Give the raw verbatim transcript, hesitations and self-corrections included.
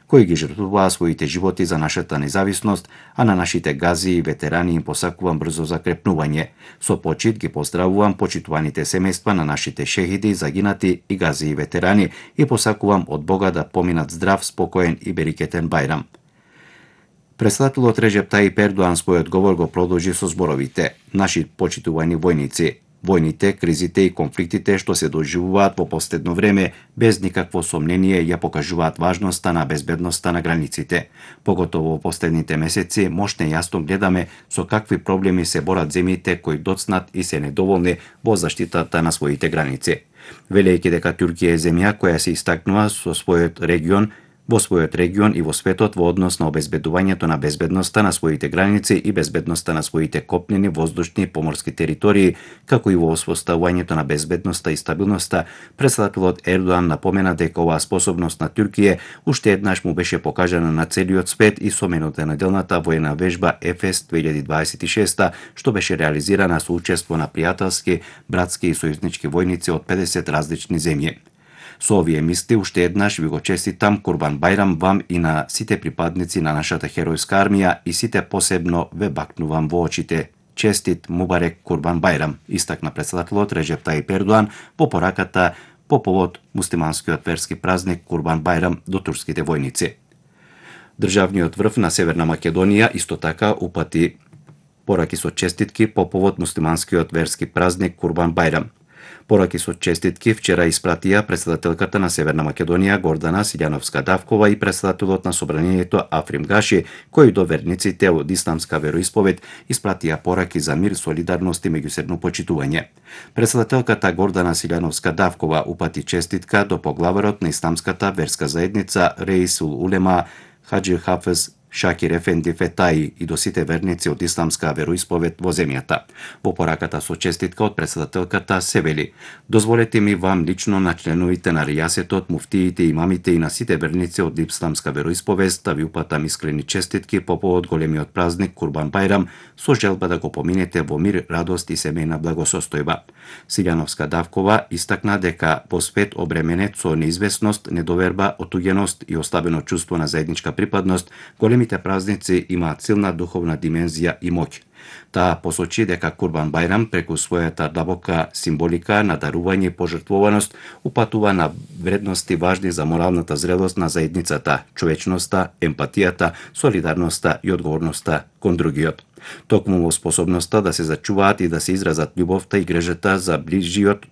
кои ги жртвуваа своите животи за нашата независност, а на нашите гази и ветерани им посакувам брзо закрепнување. Со почит ги поздравувам почитуваните семејства на нашите шехиди, загинати и гази и ветерани и посакувам од Бога да поминат здрав, спокоен и берекетен Бајрам. Председателот Реджеп Тајип Ердоан својот говор го продолжи со зборовите: Наши почитувани војници, војните, кризите и конфликтите што се доживуваат во последно време без никакво сомнение ја покажуваат важноста на безбедноста на границите. Поготово во последните месеци мошне јасно гледаме со какви проблеми се борат земјите кои доцнат и се недоволни во заштитата на своите граници. Велејќи дека Турција е земја која се истакнува со својот регион во својот регион и во светот во однос на обезбедувањето на безбедноста на своите граници и безбедноста на своите копнени, воздушни и поморски територии, како и во воспоставувањето на безбедноста и стабилноста, председателот Ердоан напомена дека оваа способност на Турција уште еднаш му беше покажана на целиот свет и со минутонаделната воена вежба Ефес две илјади дваесет и шеста, што беше реализирана со учество на пријателски, братски и сојузнички војници од педесет различни земји. Со овие мисли уште еднаш ви го честитам Курбан Бајрам вам и на сите припадници на нашата херојска армија и сите посебно ве бакнувам во очите. Честит Мубарек Курбан Бајрам, истакна председателот Реджеп Тајип Ердоан во пораката по повод муслиманскиот верски празник Курбан Бајрам до турските војници. Државниот врв на Северна Македонија исто така упати пораки со честитки по повод муслиманскиот верски празник Курбан Бајрам. Пораки со честитки вчера испратија председателката на Северна Македонија Гордана Силјановска-Давкова и председателот на собранието Африм Гаши, кои до верниците од исламска вероисповед испратија пораки за мир, солидарност и меѓусебно почитување. Председателката Гордана Силјановска-Давкова упати честитка до поглаварот на исламската верска заедница Реисул Улема Хаџи Хафез Шакир Ефенди Фетаи и до сите верници од исламска вероисповед во земјата. Во пораката со честитка од председателката се вели: Дозволете ми вам лично на членовите на ријасетот, муфтиите, имамите и на сите верници од исламска вероисповест да ви упатам искрени честитки по повод големиот празник Курбан Бајрам со желба да го поминете во мир, радост и семејна благосостојба. Силјановска-Давкова истакна дека во свет обременет со неизвестност, недоверба, отуѓеност и ослабено чувство на заедничка припадност, големи Големите празници имаат силна духовна димензија и моќ. Таа посочи дека Курбан Бајрам преку својата длабока символика на дарување и пожртвуваност упатува на вредности важни за моралната зрелост на заедницата, човечноста, емпатијата, солидарноста и одговорноста кон другиот. Токму во способноста да се зачуваат и да се изразат љубовта и грижата за ближиот